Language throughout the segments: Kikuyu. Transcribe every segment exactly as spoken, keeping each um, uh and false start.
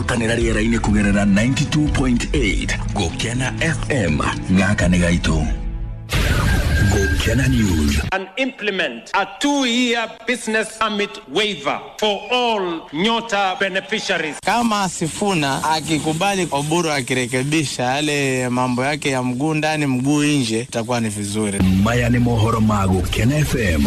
Tũrahotanĩra rĩera-inĩ kũgerera ninety-two point eight Gũkena F M. Gaka nĩ gaitũ. Gũkena News. And implement a two-year business permit waiver for all Nyota beneficiaries. Kama Sifuna akikubali Oburu akirekebisha yale mambo yake ya mguu ndani mguu nje, itakuwa ni vizuri. Maya ni mohoro ma Gũkena F M.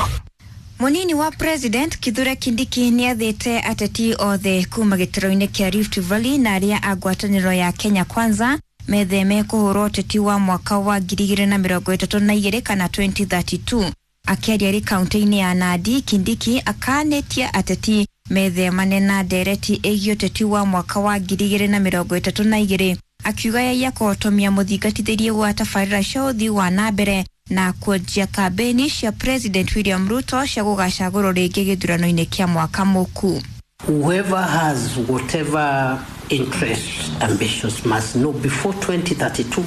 Munini wa President Kithure Kindiki nĩathĩte ateti othe kuma gĩtaro-inĩ kĩa Rift Valley na arĩa a ngwatanĩro ya Kenya Kwanza metheme kũhũrwo ũteti wa mwaka wa ngiri igĩrĩ na mĩrongo ĩtatũ na igĩrĩ kana twenty thirty-two. Akĩaria arĩ kaunti-inĩ ya Nandi, Kindiki akanĩtie ateti methemane na ndereti ĩgiĩ ũteti wa mwaka wa ngiri igĩrĩ na mĩrongo ĩtatũ na igĩrĩ, akiuga yaiya kũhotomia mũthingatithĩrie gwa tabarĩra cia ũthii wa na mbere na kuanjia kambeni cia President William Ruto cia gũgacagũrwo rĩngĩ gĩthurano-inĩ kĩa mwaka mũku. Whoever has whatever interest, ambitions must know before twenty thirty-two,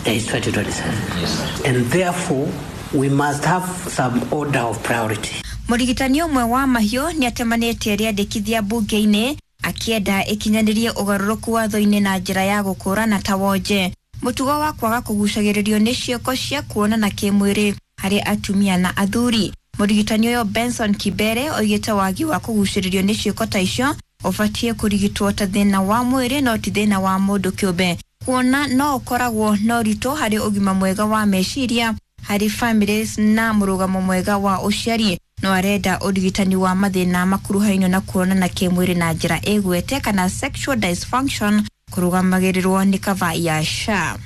there is twenty twenty-seven. Yes. And therefore, we must have some order of priority. Mũrigitani ũmwe wa mahiũ nĩatemanĩtie rĩandĩkithia mbunge-inĩ akĩenda ĩkinyanĩrie ũgarũrũku watho-inĩ na njĩra ya gũkũrana ta wonje. Mũtugo wa kwaga kũgucagĩrĩrio nĩ ciĩko cia kuonana kĩmwĩrĩ harĩ atumia na athuri. Mũrigitani ũyũ Benson Kibere oigĩte wagi wa kũgucĩrĩrio nĩ ciĩko ta icio ũbatiĩ kũrigitwo ta thĩna wa mwĩrĩ no ti thĩna wa mũndũ kĩũmbe, kuona no ũkoragwo na ũritũ harĩ ũgima mwega wa meciria harĩ families na mũrũgamo mwega wa ũciari. No arenda ũrigitani wa mathĩna makuruhainio na kuonana kĩmwĩrĩ na njĩra ĩgwete kana sexual dysfunction kũrũgamagĩrĩrwo nĩ kava ya S H A.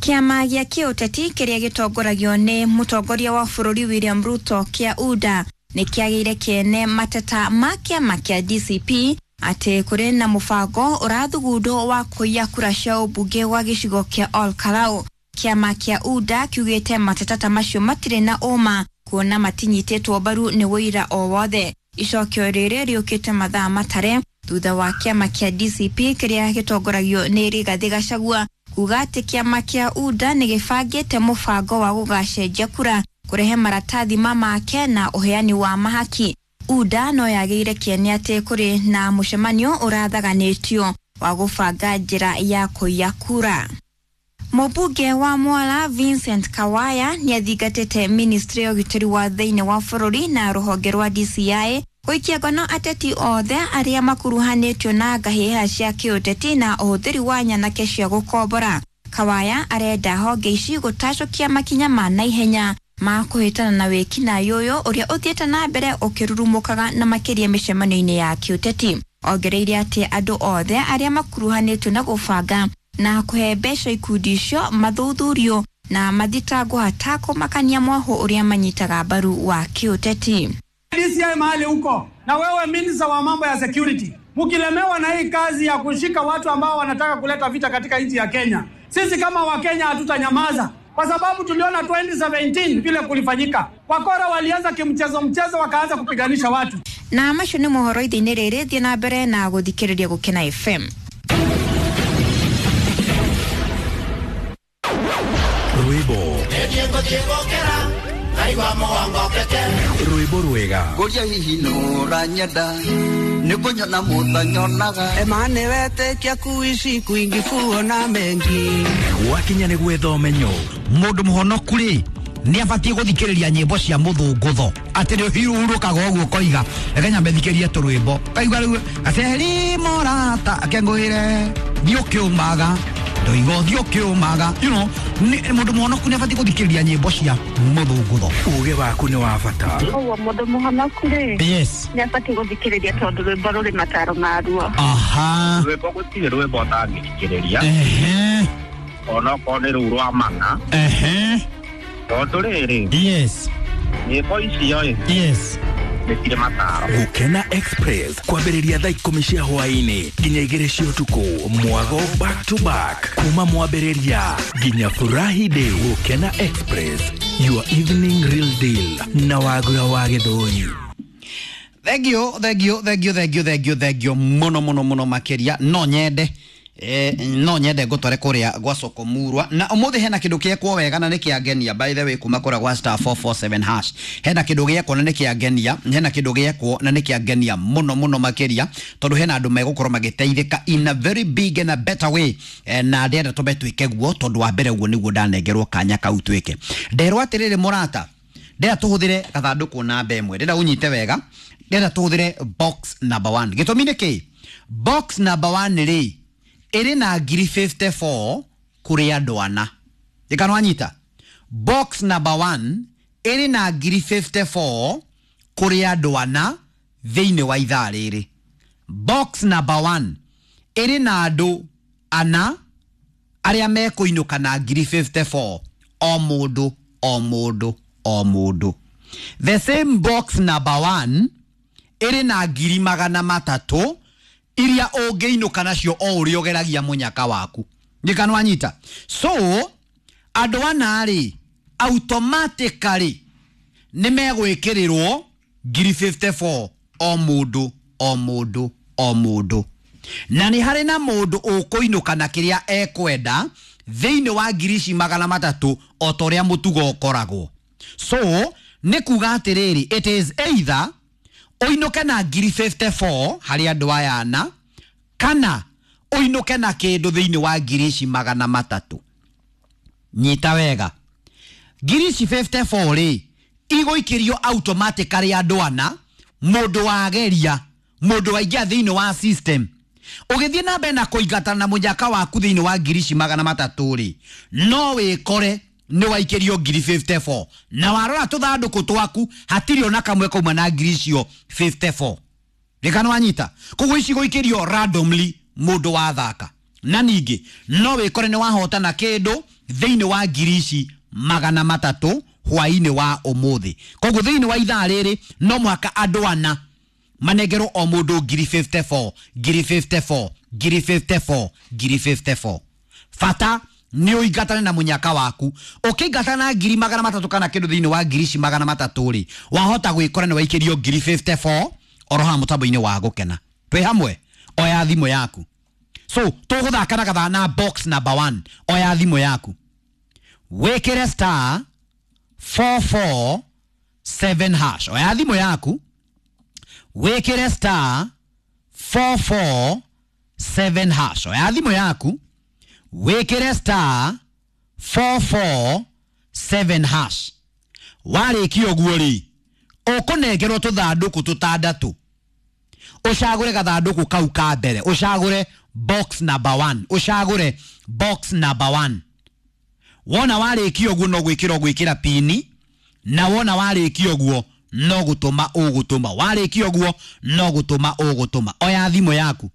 Kĩama gĩa kĩũteti kĩrĩa gĩtongoragio nĩ mũtongoria wa bũrũri William Ruto kĩa U D A nĩ kĩagĩire kĩene mateta ma kĩama kĩa D C P atĩ kũrĩ na mũbango ũrathugundwo wa kũiya kura cia ũmbunge wa gĩcigo kĩa Ol Kalou. Kĩama kĩa U D A kiugĩte mateta ta macio matirĩ na ũma kuona matinyitĩtwo mbaru nĩ ũira o wothe. Icokio rĩrĩ rĩũkĩte mathaa matare thutha wa kĩama kĩa D C P kĩrĩa gĩtongoragio nĩ Rigathĩ Gachagua kuga atĩ kĩama kĩa U D A nĩ gĩbangĩte mũbango wa gũgacenjia kura kũrehe maratathi ma make na ũheani wa mahaki. U D A no yagĩire kĩene atĩ kũrĩ na mũcemanio ũrathaganĩtio wa gũbanga njĩra ya kũiya kura. Mũmbunge wa Mwala Vincent Kawaya nĩathingatĩte ministry ya ũgitĩri wa thĩinĩ wa bũrũri na rũhonge rwa D C I gũikia ngono ateti othe arĩa makuruhanĩtio na ngahĩha cia kĩũteti na ũhũthĩri wa nyanake cia gũkombora. Kawaya arenda honge ici gũtacũkia makinya ma naihenya ma kũhĩtana na wĩkinaĩ ũyũ ũrĩa ũthiĩte na mbere ũkĩrurumũkaga na makĩria mĩcemanio-inĩ ya kĩũteti. Ongereire atĩ andũ othe arĩa makuruhanĩtio na gũbanga na kũhe mbeca ikundi icio mathuthurio na mathitangwo hatakũmakania mwahũ ũrĩa manyitaga mbaru wa kĩũteti. D C I mahali huko na wewe minister wa mambo ya security, mkilemewa na hii kazi ya kushika watu ambao wanataka kuleta vita katika nchi ya Kenya, sisi kama Wakenya hatutanyamaza, kwa sababu tuliona twenty seventeen vile kulifanyika. Wakora walianza kimchezo mchezo wakaanza kupiganisha watu. Na macio nĩ mohoro ithe-inĩ rĩrĩ, thiĩ na mbere na gũthikĩrĩria Gũkena F M. Rwĩmbo. Rwĩmbo rwega. Ngũria hihi nũranyenda, nĩngũnyona mũtanyonaga. Ema nĩwetĩkia kuishi kwingi kuona mengi. Gwakinya nĩ gwetha ũmenyo. Mũndũ mũhonoku rĩ, nĩ abatiĩ gũthikĩrĩria nyĩmbo cia mũthũngũtho. Atĩ nĩ ũhurũkaga ũguo ũkoiga, reke nyambe thikĩrie tũrwĩmbo. Kaigua rĩu, aceri morata akengũĩre, thiĩ ũkĩũmaga. Ndoiga ũthiĩ ũkĩũmaga. You know, mũndũ mũhonoku nĩ abatiĩ gũthikĩrĩria nyĩmbo cia mũthũngũtho. Ũgĩ waku nĩ wa bata. Ũguo mũndũ mũhonoku rĩ, Yes. nĩ abatiĩ gũthikĩrĩria tondũ rwĩmbo rũrĩ mataro maruo. Aha. Rwĩmbo gũtirĩ rwĩmbo ũtangĩthikĩrĩria. Ehe. Onokorwo nĩ rũu rwa mana. Ehe. Tondũ rĩrĩ, Yes. nyĩmbo icio ĩ, Yes. nĩ cirĩ mataro. Gũkena Express kwambĩrĩria thaa ikũmi cia hwaĩ-inĩ nginya igĩrĩ cia ũtukũ, mwago back to back kuma mwambĩrĩria nginya Furahi Day. Gũkena Express, your evening real deal na Wagura wa Gĩthũri. Thank you, thank you, thank you, thank you, thank you, thank you muno muno muno makĩria. No nyende Eh, no nyende ngũtware kũrĩa gwa soko murwa na ũmũthĩ hena kĩndũ gĩekwo wega na nĩ kĩangenia. By the way, kuma kũrĩa gwa star four four seven hash hena kĩndũ gĩekwo na nĩ kĩangenia, hena kĩndũ gĩekwo na nĩ kĩangenia mũno mũno makĩria, tondũ hena andũ megũkorwo magĩteithĩka in a very big and a better way. Eh, na ndĩrenda tũmbe twĩke guo, tondũ wa mbere ũguo nĩguo ndanengerwo kanya kau twĩke. Nderwo atĩrĩrĩ mũrata, ndĩrenda tũhũthĩre gathandũkũ namba ĩmwe, ndĩrenda ũnyite wega, ndĩrenda tũhũthĩre box number one. Gĩtũmi nĩ kĩ? Box number one rĩ ĩrĩ na ngiri fifty four kũrĩ andũ ana. Ndĩkana wanyita? Box number one ĩrĩ na ngiri fifty four kũrĩ andũ ana thĩinĩ wa ithaa rĩrĩ. Box number one ĩrĩ na andũ ana arĩa mekũinũka na ngiri fifty four o mũndũ o mũndũ o mũndũ. The same box number one ĩrĩ na ngiri magana matatũ iria ũngĩinũka nacio o ũrĩa ũgeragia mũnyaka waku. Ndĩkana wanyita? So andũ ana rĩ automatically nĩ megwĩkĩrĩrwo ngiri fifty four o mũndũ o mũndũ o mũndũ. Na nĩ harĩ na mũndũ ũkũinũka na kĩrĩa ekwenda thĩinĩ wa ngiri ici magana matatũ o ta ũrĩa mũtugo ũkoragwo. So nĩ kuga atĩrĩrĩ, it is either ũinũke na ngiri fifty four harĩ andũ aya ana, kana ũinũke na kĩndũ thĩinĩ wa ngiri ici magana matatũ. Nyita wega, ngiri ici fifty four rĩ igũikĩrio automatically andũ ana, mũndũ wageria, mũndũ waingĩra thĩinĩ wa system. Ũgĩthiĩ na mbere na kũingatana na mũnyaka waku thĩinĩ wa ngiri ici magana matatũ rĩ, no wĩkore nĩ waikĩrio ngiri fifty four, na warora tũthandũkũ twaku hatirĩ ona kamwe kauma na ngiri icio fifty four. Rĩkana wanyita? Koguo ici gũikĩrio randomly mũndũ wathaka. Na ningĩ no wĩkore nĩ wahotana kĩndũ thĩinĩ wa ngiri ici magana matatũ hwainĩ wa ũmũthĩ. Koguo thĩinĩ wa ithaa rĩrĩ no mũhaka andũ ana manengerwo o mũndũ ngiri fifty four, ngiri fifty four, ngiri fifty four, ngiri fifty four. Bata nĩ ũingatane na mũnyaka waku. Ũkĩingatana na ngiri magana matatũ kana kĩndũ thĩinĩ wa ngiri ici magana matatũ rĩ, wahota gwĩkora nĩ waikĩrio ngiri fifty four oro haha mũtambo-inĩ wa gũkena. Twĩ hamwe? Oya thimũ yaku. So tũgũthaka na gathaa na box number one. Oya thimũ yaku, wĩkĩre star four four seven hash. Oya thimũ yaku, wĩkĩre star four four seven hash. Oya thimũ yaku, wĩkĩre star four four seven hash. Warĩkia ũguo rĩ, ũkũnengerwo tũthandũkũ tũtandatũ. Ũcagũre gathandũkũ kau ka mbere, ũcagũre box number one, ũcagũre box number one. Wona warĩkia ũguo no gwĩkĩra ũgwĩkĩra pini, na wona warĩkia ũguo no gũtũma ũgũtũma. Warĩkia ũguo no gũtũma ũgũtũma. Oya thimũ yaku,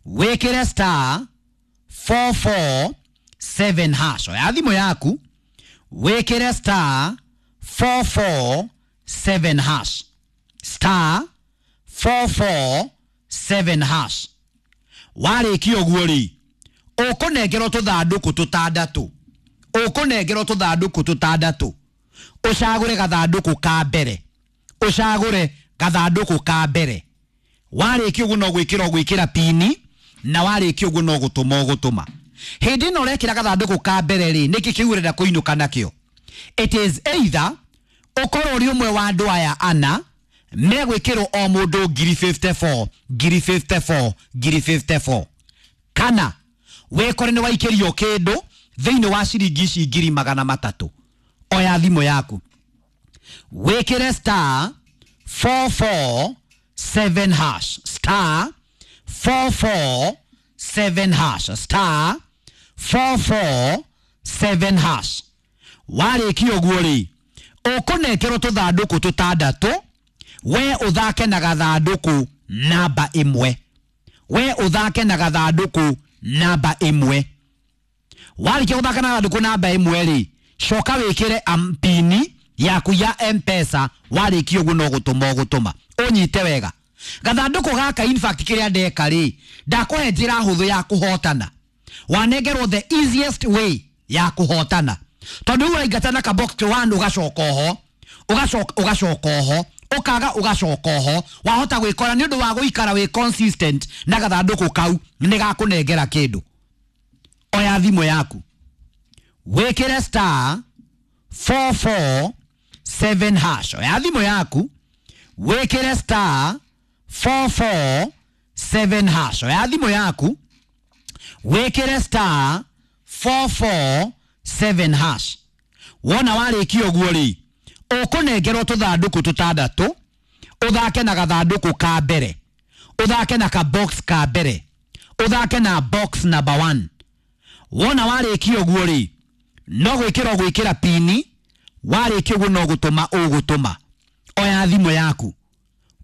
wĩkĩre star four four seven hash. Oya thimũ yaku, wĩkĩre star four four seven hash. Star four four seven hash. Warĩkia ũguo rĩ, ũkũnengerwo tũthandũkũ tũtandatũ. Ũkũnengerwo tũthandũkũ tũtandatũ. Ũcagũre gathandũkũ ka mbere, ũcagũre gathandũkũ ka mbere. Warĩkia ũguo no gwĩkĩra ũgwĩkĩra pini, na warĩkia ũguo no gũtũma ũgũtũma. Hĩndĩ ĩno ũrekĩra gathandũkũ ka mbere rĩ, nĩkĩ kĩu ũrenda kũinũka nakĩo? It is either ũkorwo ũrĩ ũmwe wa andũ aya ana megwĩkĩrwo o mũndũ ngiri fifty four, ngiri fifty four, ngiri fifty four, kana wĩkore nĩ waikĩrio kĩndũ thĩinĩ wa ciringi ici ngiri magana matatũ. Oya thimũ yaku, wĩkĩre star four four seven hash, star four four seven hash, star four four seven hash. Warĩkia ũguo rĩ, ũkũnengerwo tũthandũkũ tũtandatũ, we ũthake na gathandũkũ namba ĩmwe, we ũthake na gathandũkũ namba ĩmwe. Warĩkia gũthaka na gathandũkũ namba ĩmwe rĩ, coka wĩkĩre pini yaku ya M-Pesa. Warĩkia ũguo no gũtũma ũgũtũma. Ũnyite wega, gathandũkũ gaka in fact kĩrĩa ndeka rĩ, ndakũhe njĩra hũthũ ya kũhotana. Wanengerwo the easiest way ya kũhotana, tondũ rĩu ũraingatana ka box one ũgacoka oho, ũgacoka ũgacoka oho, Ũkaga ũgacoka oho. Wahota gwĩkora nĩ ũndũ wa gũikara wĩ consistent na gathandũkũ kau nĩ gakũnengera kĩndũ. Oya thimũ yaku. Wĩkĩre star four four seven hash. Oya thimũ yaku. Wĩkĩre star four four seven hash. Oya thimũ yaku. Wĩkĩre star four four seven hash. Wona warĩkia ũguo rĩ, ũkũnengerwo tũthandũkũ tũtandatũ, ũthake na gathandũkũ ka mbere, ũthake na ka box ka mbere, ũthake na box number one. Wona warĩkia ũguo rĩ, no gwĩkĩra ũgwĩkĩra pini, warĩkia ũguo no gũtũma ũgũtũma. Oya thimũ yaku,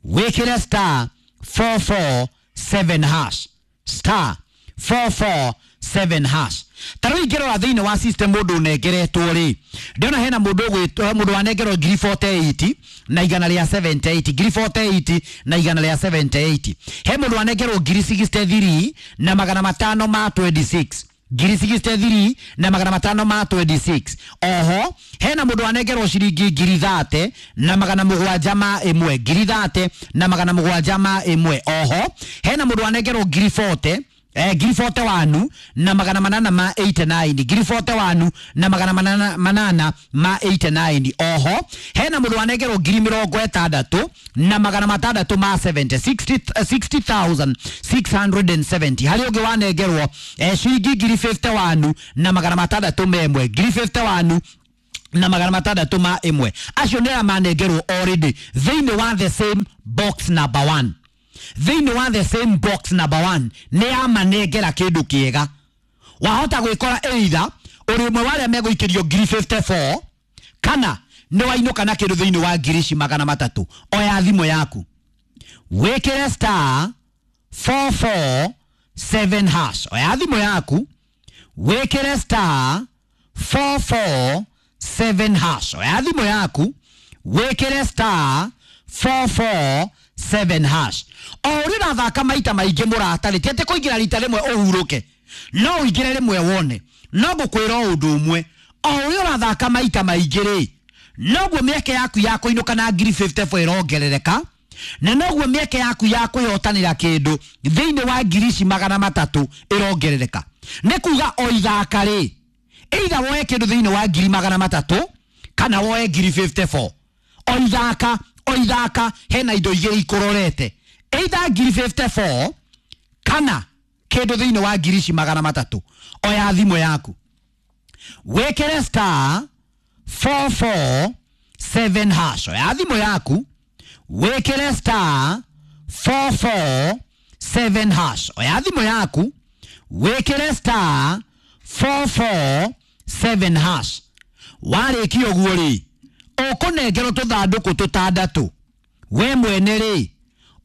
wĩkĩre star four four seven hash, star four four seven hash. Ta rĩu ingĩrora thĩinĩ wa system mũndũ ũnengeretwo rĩ, ndĩrona hena mũndũ ũgwĩtwo mũndũ wanengerwo ngiri forty eight na igana rĩa seventy eight, ngiri forty eight na igana rĩa seventy eight. He mũndũ wanengerwo ngiri sixty three na magana matano ma twenty six, ngiri sixty three na magana matano ma twenty six. Oho hena mũndũ wanengerwo ciringi ngiri thate na magana mũgwanja ma ĩmwe, ngiri thate na magana mũgwanja ma ĩmwe. Oho hena mũndũ wanengerwo ngiri forty, eh, ngiri forty one na magana manana ma eighty nine, ngiri forty one na magana manana, manana ma eighty nine. Oho hena mũndũ wanengerwo ngiri mĩrongo ĩtandatũ na magana matandatũ ma seventy, sixty thousand six hundred and seventy. Harĩ ũngĩ wanengerwo eh, ciringi ngiri fifty one na magana matandatũ ma ĩmwe, ngiri fifty one na magana matandatũ ma ĩmwe. Acio nĩ arĩa manengerwo already thĩinĩ wa the same box number one. Thĩinĩ wa the same box number one nĩ amanengera kĩndũ kĩega. Wahota gwĩkora either ũrĩ ũmwe wa arĩa megũikĩrio ngiri fifty four kana nĩ wainũka na kĩndũ thĩinĩ wa ngiri ici magana matatũ. Oya thimũ yaku, wĩkĩre star four four seven hash. Oya thimũ yaku, wĩkĩre star four four seven hash. Oya thimũ yaku, wĩkĩre star four four seven hash. O ũrĩa ũrathaka maita maingĩ mũrata-rĩ, ti atĩ kũingĩra rita rĩmwe ũhurũke, no ũingĩre rĩmwe wone. No ngũkwĩra ũndũ ũmwe, o ũrĩa ũrathaka maita maingĩ rĩ, noguo mĩeke yaku ya kũinũka na ngiri fifty four ĩrongerereka, na noguo mĩeke yaku ya kwĩhotanĩra kĩndũ thĩinĩ wa ngiri ici magana matatũ ĩrongerereka. Nĩ kuga o ithaka rĩ, either woe kĩndũ thĩinĩ wa ngiri magana matatũ kana woe ngiri fifty four. O ithaka, o ithaka hena indo igĩrĩ ikũrorete, either ngiri fifty four kana kĩndũ thĩinĩ wa ngiri ici magana matatũ. Oya thimũ yaku, wĩkĩre star four four seven hash. Oya thimũ yaku, wĩkĩre star four four seven hash. Oya thimũ yaku, wĩkĩre star four four seven hash. Warĩkia ũguo rĩ, ũkũnengerwo tũthandũkũ tũtandatũ. We mwene rĩ,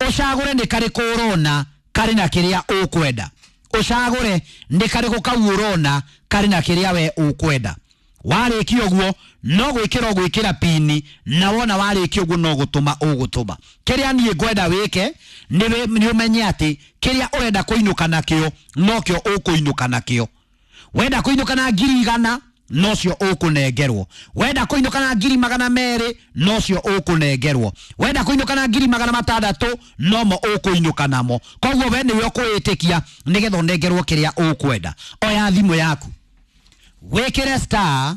ũcagũre nĩ karĩkũ ũrona karĩ na kĩrĩa ũkwenda. Ũcagũre nĩ karĩkũ kau ũrona karĩ na kĩrĩa we ũkwenda. Warĩkia ũguo no gwĩkĩra ũgwĩkĩra pini, na wona warĩkia ũguo no gũtũma ũgũtũma. Kĩrĩa niĩ ngwenda wĩke nĩ ũmenye atĩ kĩrĩa ũrenda kũinũka nakĩo nokĩo ũkũinũka nakĩo. Wenda kũinũka na ngiri igana nocio ũkũnengerwo. Wenda kũinũka na ngiri magana merĩ nocio ũkũnengerwo. Wenda kũinũka na ngiri magana matandatũ nomo ũkũinũka namo. Koguo we nĩwe ũkwĩĩtĩkia nĩgetha ũnengerwo kĩrĩa ũkwenda. Oya thimũ yaku, wĩkĩre star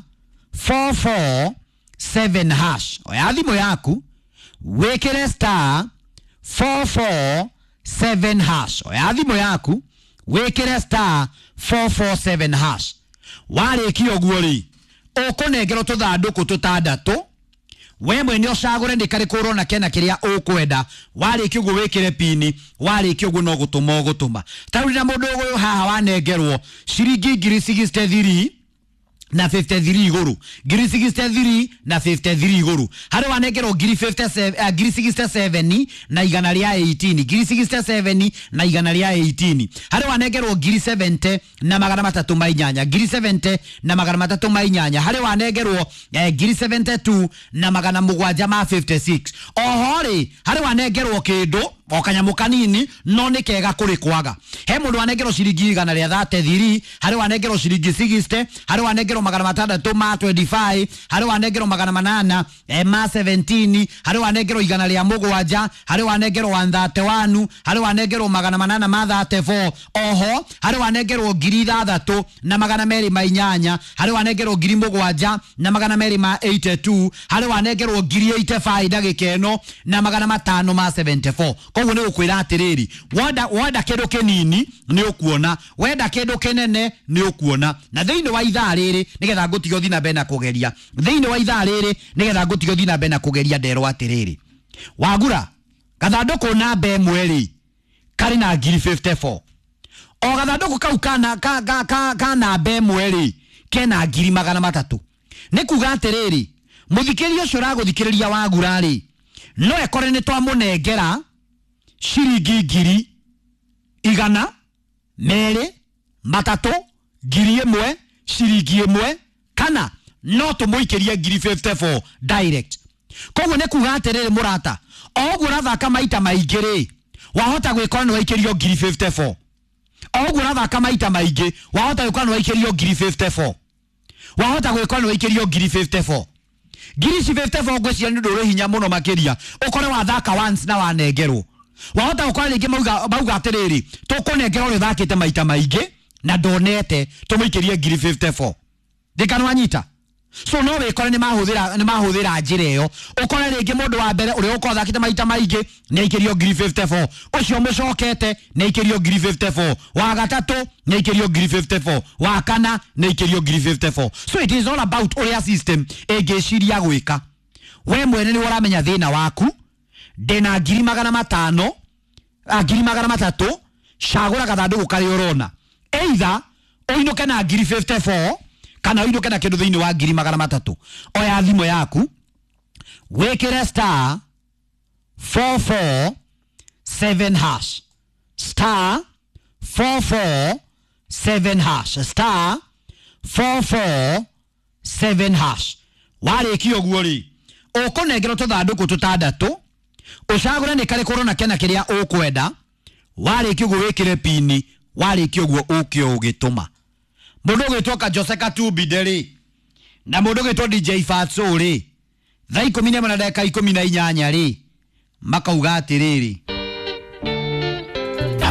four four seven hash. Oya thimũ yaku, wĩkĩre star four four seven hash. Oya thimũ yaku, wĩkĩre star four four seven hash. Warĩkia ũguo rĩ, ũkũnengerwo tũthandũkũ tũtandatũ. We mwene ũcagũre nĩ karĩkũ ũrona kena kĩrĩa ũkwenda. Warĩkia ũguo wĩkĩre pini, warĩkia ũguo no gũtũma ũgũtũma. Ta rĩu ndĩna mũndũ ũyũ haha wanengerwo ciringi ngiri sixty three na fifty three igũrũ, ngiri sixty three na fifty three igũrũ. Harĩ wanengerwo ngiri fifty seven, uh, ngiri sixty seven na igana rĩa eighteen, ngiri sixty seven na igana rĩa eighteen. Harĩ wanengerwo ngiri seventy na magana matatũ ma inyanya, ngiri seventy na magana matatũ ma inyanya. Harĩ wanengerwo eh, ngiri seventy two na magana mũgwanja ma fifty six. Oho rĩ, harĩ wanengerwo kĩndũ O kanyamũ kanini no nĩ kega kũrĩ kwaga. He mũndũ wanengerwo ciringi igana rĩa thirty-three, harĩ wanengerwo ciringi sixty, harĩ wanengerwo magana matandatũ ma twenty-five, harĩ wanengerwo magana manana eh, ma seventeen, harĩ wanengerwo igana rĩa mũgwanja, harĩ wanengerwo one thirty-one, harĩ wanengerwo magana manana ma thirty-four, oho harĩ wanengerwo ngiri ithathatũ na magana merĩ ma inyanya, harĩ wanengerwo ngiri mũgwanja na magana merĩ ma eighty-two, harĩ wanengerwo ngiri eighty-five ndagĩka ĩno na magana matano ma seventy-four. Koguo nĩ gũkwĩra atĩrĩrĩ, wenda wenda kĩndũ kĩnini nĩ ũkuona, wenda kĩndũ kĩnene nĩ ũkuona. Na thĩinĩ wa ithaa rĩrĩ nĩgetha ngũtige ũthiĩ na mbere na kũgeria, thĩinĩ wa ithaa rĩrĩ nĩgetha ngũtige ũthiĩ na mbere na kũgeria, nderwo atĩrĩrĩ, wagura gathandũkũ namba ĩmwe rĩ karĩ na ngiri fifty-four, o gathandũkũ kau kana ka ka ka ka namba ĩmwe rĩ kena ngiri magana matatũ. Nĩ kuga atĩrĩrĩ, mũthikĩria ũcio ũragũthikĩrĩria wagura rĩ no ekore nĩ twamũnengera ciringi ngiri igana merĩ matatũ ngiri ĩmwe ciringi ĩmwe, kana no tũmũikĩrie ngiri fifty-four direct. Koguo nĩ kuga atĩrĩrĩ mũrata, o ũguo ũrathaka maita maingĩ rĩ wahota gwĩkora nĩ waikĩrio ngiri fifty-four. O ũguo ũrathaka maita maingĩ wahota gwĩkora nĩ waikĩrio ngiri fifty-four, wahota gwĩkora nĩ waikĩrio ngiri fifty-four. Ngiri ici fifty-four ngwĩciria nĩ ũndũ ũrĩ hinya mũno makĩria ũkore wathaka once na wanengerwo. Wahota gũkora rĩngĩ mauga mauga atĩrĩrĩ, tũkũnengera ũrĩa ũthakĩte maita maingĩ na ndonete tũmũikĩrie ngiri fifty-four. Ndĩkana wanyita? So no wĩkore nĩ mahũthĩra nĩ mahũthĩra njĩra ĩyo, ũkore rĩngĩ mũndũ wa mbere ũrĩa ũkorwo athakĩte maita maingĩ nĩ aikĩrio ngiri fifty-four, ũcio mũcokete nĩ aikĩrio ngiri fifty-four, wa gatatũ nĩ aikĩrio ngiri fifty-four, wa kana nĩ aikĩrio ngiri fifty-four. So it is all about ũrĩa system ĩngĩciria gwĩka. We mwene nĩ ũramenya thĩna waku. Ndĩna ngiri magana matano, ngiri magana matatũ, cagũra gathandũkũ karĩa ũrona, either ũinũke na ngiri fifty-four kana ũinũke na kĩndũ thĩinĩ wa ngiri magana matatũ. Oya thimũ yaku wĩkĩre star four four seven hash, star four four seven hash, star four four seven hash. Warĩkia ũguo rĩ ũkũnengerwo tũthandũkũ tũtandatũ, ũcagũre nĩ karĩkũ ũrona kena kĩrĩa ũkwenda. Warĩkia ũguo wĩkĩre pini, warĩkia ũguo ũke ũgĩtũma. Mũndũ ũgwĩtwo Kajose Katumbinde rĩ na mũndũ ũgwĩtwo D J Fatso rĩ thaa ikũmi na ĩmwe na ndagĩka ikũmi na inyanya rĩ makauga atĩrĩrĩ,